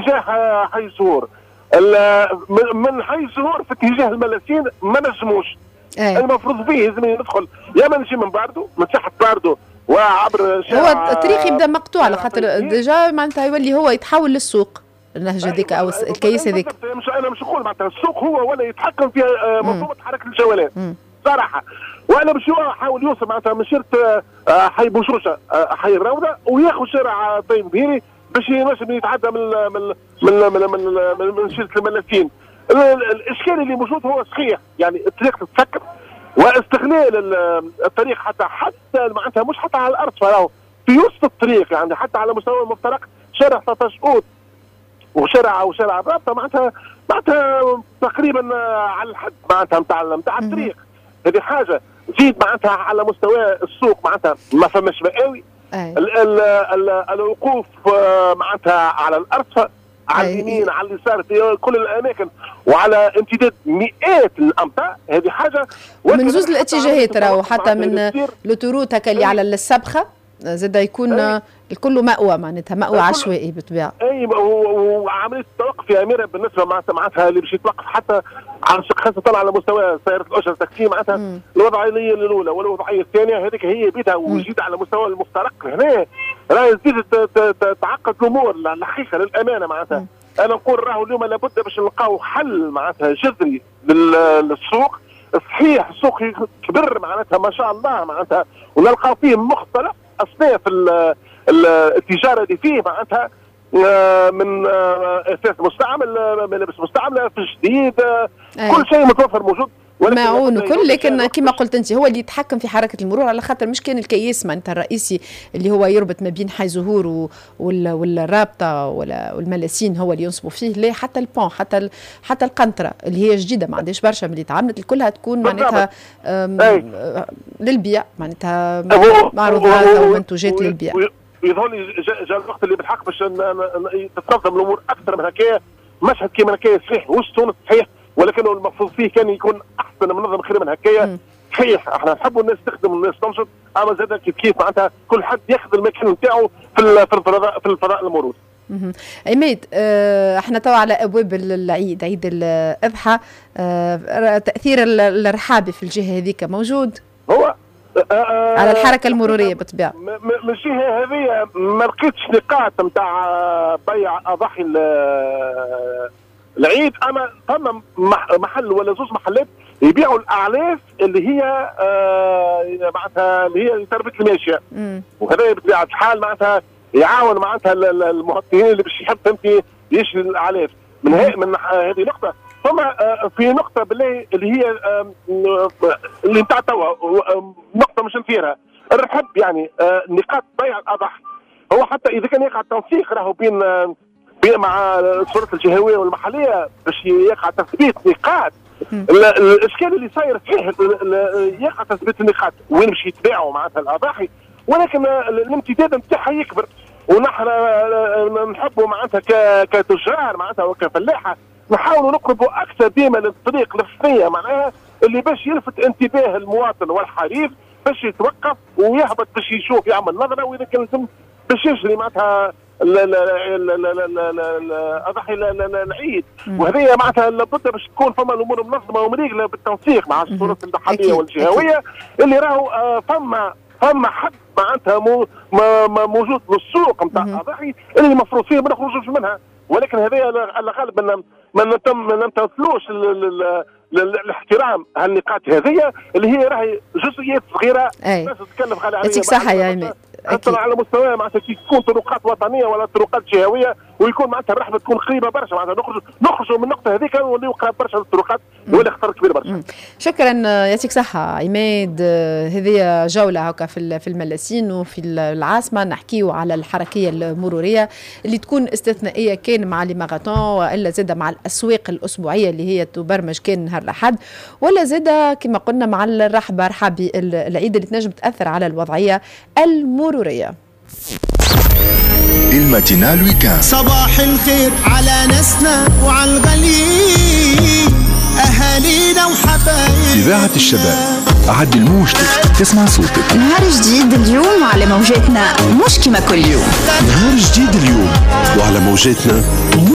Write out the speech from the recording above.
اتجاه حي الزهور، من حي الزهور في اتجاه الملاسين ما نجموش. المفروض فيه لازم ندخل يا ما نجي من باردو، من ساحة باردو وعبر شارع. هو الطريق يبدا مقطوع على خاطر déjà معناتها يولي هو يتحول للسوق، النهج هذيك او الكيس هذيك. مش انا مش نقول معناتها السوق هو ولا يتحكم في منظومة حركة الجولان صراحة، وانا باش حاول يوصل معناتها من شيرة حي بوشوشه حي الروضة وياخذ شارع طيب بهيري باش ينجم يتعدى من من من من من, من شيرة الملاسين. الاشكال اللي موجود هو صحيح، يعني الطريق تتسكر واستغلال الطريق حتى معناتها مش حتى على الارض، فراهو في وسط الطريق، يعني حتى على مستوى المفترق شارع 13 اوت وشارع الرابطة معناتها تقريبا على الحد معناتها نتاع الطريق. هذه حاجة. زيد معناتها على مستوى السوق معناتها ما فماش مآوي، الوقوف معناتها على الارصفه، على اليمين على اليسار في كل الاماكن وعلى امتداد مئات الامتار. هذه حاجة. من زوز الاتجاهات راهو، حتى من l'autoroute هكا اللي على السبخه زاد يكون الكل مأوى، معناتها مأوى عشوائي بالطبيعة. اي وعملية التوقف يا اميره بالنسبة معناتها اللي باش يتوقف حتى على خاصة على مستوى سيارة الاجرة التاكسي معناتها الوضعية الاولى والوضعيه الثانية هذيك هي بيتها، وجيت على مستوى المفترق هنا راهي تزيد تعقد الامور الحقيقة للامانة. معناتها انا نقول راهو اليوم لابد باش نلقاو حل معناتها جذري للسوق. صحيح السوق كبر معناتها ما شاء الله معناتها، ونلقاو فيه مختلف اصناف التجارة اللي فيه معناتها من اثاث مستعمل، ملابس مستعملة، في جديد، كل شيء متوفر موجود، معون وكل. لكن كما قلت انت هو اللي يتحكم في حركة المرور، على خاطر مش كان الكيس معناتها الرئيسي اللي هو يربط ما بين حي زهور والرابطه والملاسين هو اللي ينصبوا فيه، لا حتى ال pont، حتى القنطرة اللي هي جديدة ما عندهاش برشا من اللي تعملت كلها تكون معناتها للبيع، معناتها معروضات او منتوجات للبيع. يظهر لي جاء الوقت اللي بالحق باش تتنظم الامور اكثر من هكايا. مشهد كيما هكايا صحيح وسط تونس صحيح، ولكن المفروض فيه كان يكون احسن منظم خير من هكايا. صحيح احنا نحبوا الناس تخدم والناس تنشط، اما زاد كيف كيف معناتها كل حد ياخذ المكان نتاعو في الفضاء المرور. عماد، احنا توا على ابواب العيد، عيد الاضحى، تاثير الرحابي في الجهة هذيك موجود؟ هو على الحركة المرورية بالطبيعة. من الجهة هذه ما لقيتش نقاط نتاع بيع اضاحي العيد، اما فما محل ولا زوج محلات يبيعوا الاعلاف اللي هي معناتها اللي هي تربيه الماشية، وهذا بطبيعة الحال معناتها يعاون معناتها المواطنين اللي باش يحب فهمتي يشري الاعلاف. من هذه نقطة. ثم في نقطة بالله اللي هي اللي نتاع توا نقطة مش نثيرها، الرحب يعني نقاط بيع الاضاحي، هو حتى اذا كان يقع التنسيق راهو بين مع السلطات الجهوية والمحليه باش يقع تثبيت نقاط. الاشكال اللي صاير صحيح يقع تثبيت النقاط وين باش يتباعوا معناتها الاضاحي، ولكن الامتداد نتاعها يكبر، ونحن نحبوا معناتها كتجار معناتها وكفلاحه نحاولوا نقربوا اكثر ديما للطريق الفنية معناها اللي باش يلفت انتباه المواطن والحريف باش يتوقف ويهبط باش يشوف يعمل نظره، واذا كان لازم باش يشري معناتها اضحي العيد. وهذه معناتها لابد باش تكون فما الامور منظمة ومريقله بالتنسيق مع السلطات المحلية والجهويه اللي راهو فما حد معناتها موجود للسوق نتاع الاضاحي اللي المفروض فيه ما نخرجوش منها، ولكن هذا على الغالب ما نمتثلوش الاحترام هالنقاط هذه اللي هي راهي جزئيات صغيرة بس تتكلف غالي عليها. يعطيك صحة يا عماد. حتى على مستوى معناتها كي تكون طرقات وطنية ولا طرقات جهويه ويكون معناتها الرحبه تكون قريبه برشا، معناتها نخرجوا من النقطة هذيك ونوليو قراب برشا للطرقات، يولي خطر كبير برشا. شكرا، يعطيك صحة عماد. هذه جولة هكا في الملاسين وفي العاصمة، نحكيو على الحركية المرورية اللي تكون استثنائية كان مع les marathons والا زاده مع الاسواق الاسبوعية اللي هي تبرمج كان نهار الاحد، ولا زاده كما قلنا مع الرحبه رحابي العيد اللي تنجم تاثر على الوضعية المرورية. ال matinale week-end. صباح الخير على ناسنا وعلى الغاليين، اهالينا وحبايبنا. اذاعة الشباب، عدل موجتك تسمع صوتك. نهار جديد اليوم على موجاتنا مش كما كل يوم. نهار جديد اليوم وعلى موجاتنا.